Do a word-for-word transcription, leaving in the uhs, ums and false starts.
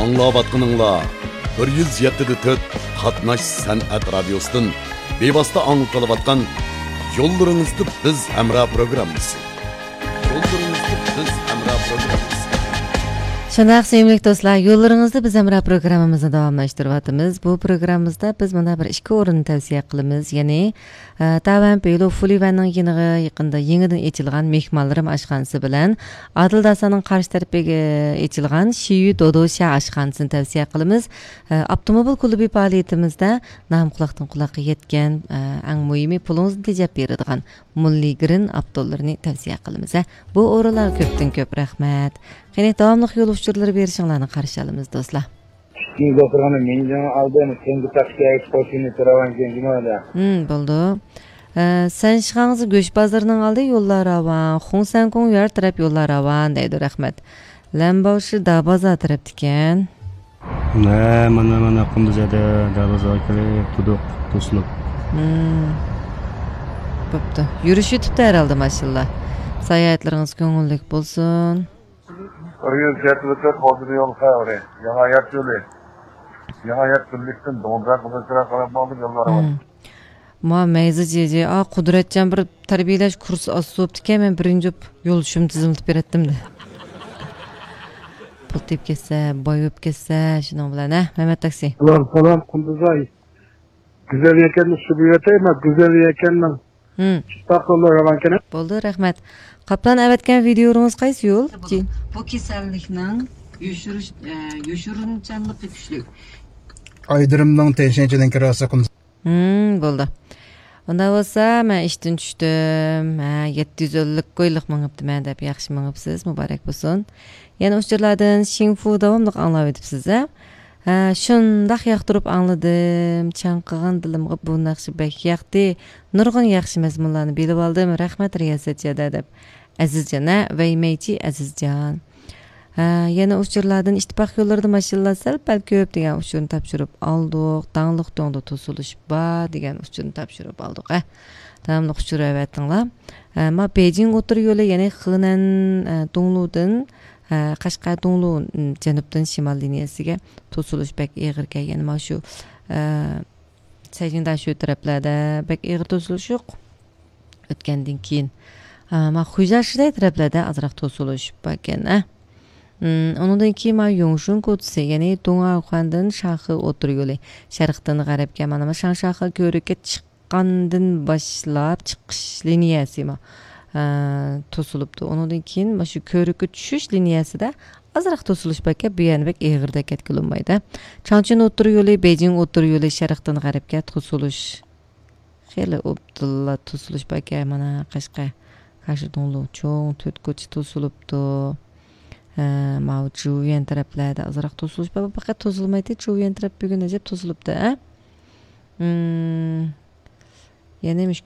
ئاڭلاۋاتقىنىڭلار بىر يۈز يەتتە دە تۆت قاتناش سەنئەت رادىيوسىدىن بىۋاسىتە ئاڭلىتىلىۋاتقان يوللىرىڭىزدا بىز ھەمراھ پروگراممىسى. يوللىرىڭىزدا بىز ھەمراھ پروگراممىسى. شۇنداق، سۆيۈملۈك دوستلار، يوللىرىڭىزدا بىز ھەمراھ پروگراممىمىزنى داۋاملاشتۇرۇۋاتىمىز. بۇ پروگراممىمىزدا بىز مانا بىر ئىككى ئورۇننى تەۋسىيە قىلىمىز. يەنى، ئە، تاۋەن پېيلۇ فۇلىۋەننىڭ يېنىغا يېقىندا يېڭىدىن ئېچىلغان مېھمانلىرىم ئاشخانىسى بىلەن ئادىل داساننىڭ قارشى تەرىپىگە ئېچىلغان شىيۈ دودوشيا ئاشخانىسىنى تەۋسىيە قىلىمىز. ئە، ئاپتوموبىل كۇلۇبى پائالىيىتىمىزدە نام قۇلاقتىن قۇلاققا يەتكەن، ئە، ئەڭ مۇھىمى پۇلىڭىزنى تېجەپ بېرىدىغان مۇللى گرىن ئاپتولىرىنى تەۋسىيە قىلىمىز، ھە. بۇ ئورۇنلارغا كۆپتىن كۆپ رەھمەت. قېنى، داۋاملىق يول ئۇچۇرلىرى بېرىشىڭلارنى قارشى ئالىمىز، دوستلار. ئىككىنچى دوختۇرخانا مىڭجىڭ ئالدىم، تەڭگە تاقىشى ئەكس قوشۇنى تۇراۋان كېڭىشىمىدە. ھىم، بولدى. ئە، سەنشىخاڭزى گۆش بازىرىنىڭ ئالدى يوللار راۋان، خۇڭسەنكۇڭ يار تەرەپ يوللار راۋان دەيدۇ، رەھمەت. لەنباۋشى دابازار تەرەپتىكەن. ھە، مانا، مانا، قۇندۇز ھەدە، دەرۋازىغا كىرىپ تۇردۇق، توسۇلۇپ. ھىم. بوپتۇ. يۈرۈش يېتىپتۇ ھەرھالدا، ماشاللا. ساياھەتلىرىڭىز كۆڭۈللۈك بولسۇن. بىر يۈز يەتتە بىر تۆت خوجىلى يول خەۋىرى. ياڭا يات يولى. ياڭا يات بىرلىكتىن دوڭزاق بازىرىغا قاراپ ماڭدۇق، يوللار راۋان. ھىم. ما مەيزى جىجى، ئا، قۇدرەتجان بىر تەربىيەلەش كۇرسى ئاچسا بوپتىكەن، مەن بىرىنچى بوپ يولدىشىمنى تىزىملىتىپ بېرەتتىم دە. پۇل تېپىپ كەتسە، باي بوپ كەتسە، شۇنىڭ بىلەن، ھە، مەمەت تاكسى. سالام، سالام، قۇندۇزاي. گۈزەل يەكەننى سۈرۈۋېتەي، مەن گۈزەل يەكەننىڭ. ھىم. چىقاق يوللار راۋانكەن. بولدى، رەھمەت. قاپلان ئەۋەتكەن ۋىدىيولىرىڭىز قايسى يول؟ بۇ كېسەللىكنىڭ يوشۇرۇش-، ئە، يوشۇرۇنچانلىقى كۈچلۈك. ئايدىرىمنىڭ تىڭشىڭچىدىن كىراسى قۇندۇز. ھىم، بولدى. ئۇنداق بولسا، مەن ئىشتىن چۈشتۈم. ھە، يەتتە يۈز ئەللىك كويلۇق مېڭىپتىمەن دەپ، ياخشى مېڭىپسىز، مۇبارەك بولسۇن. يەنە ئۇچۇرلاردىن شىڭفۇ داۋاملىق ئاڭلاۋېتىپسىز، ھە؟ ھە، شۇنداق ياقتۇرۇپ ئاڭلىدىم. چاڭقىغان دىلىمغا بۇ ناخشا بەك ياقتى. نۇرغۇن ياخشى مەزمۇنلارنى بىلىۋالدىم. رەھمەت، رىياسەت جادە دەپ. ئەزىزجان، ھە، ۋەيمەيچى ئەزىزجان. ھە، يەنە ئۇچۇرلاردىن ئىتتىپاق يوللىرىدا ماشىنىلار سەل پەل كۆپ دېگەن ئۇچۇرنى تاپشۇرۇپ ئالدۇق. داڭلىق دۆڭدە توسۇلۇش بار دېگەن ئۇچۇرنى تاپشۇرۇپ ئالدۇق، ھە. داۋاملىق ئۇچۇر ئەۋەتىڭلار. ھە، ما بېيجىڭ ئوتتۇرا يولى، يەنى خېنەن، ھە، دۇڭلۇدىن، ھە، قەشقەر دۇڭلۇ، ھىم، جەنۇبتىن شىمال لىنىيەسىگە توسۇلۇش بەك ئېغىركەن. يەنى ما شۇ، ھە، سەيجىڭداشۆ تەرەپلەردە بەك ئېغىر توسۇلۇش يوق. ئۆتكەندىن كېيىن، ئا، ما خۇيزاشىدەي تەرەپلەردە ئازراق توسۇلۇش باركەن، ئە. ئۇم، ئۇنىڭدىن كېيىن ما يۇڭشۇن كوچىسى، يەنى دۇڭئاخۇەندىن شاخې ئوتتۇرا يولى، شەرقتىن غەربكە، مانا ما شاڭشاخې كۆۋرۈككە چىققاندىن باشلاپ چىقىش لىنىيەسى ما، ئا، توسۇلۇپتۇ. ئۇنىڭدىن كېيىن ما شۇ كۆۋرۈككە چۈشۈش لىنىيەسىدە ئازراق توسۇلۇش باركەن، بۇ يەرنى بەك ئېغىردەك كەتكىلى بولمايدۇ. چاڭچۈن ئوتتۇرا يولى، بېيجىڭ ئوتتۇرا يولى، شەرقتىن غەربكە توسۇلۇش. خېلى ئوبدانلا توسۇلۇش باركەن، مانا، قەشقەر، قەشقەر دۇڭلۇ چوڭ تۆت كوچا توسۇلۇپتۇ. ھە، ماۋۇ جۇۋيەن تەرەپلەردە ئازراق توسۇلۇش بار. پەقەت توسۇلمايتتى، جۇۋيەن تەرەپ بۈگۈن ئەجەب توسۇلۇپتۇ، ھە؟ مم. يەنە مۇشۇ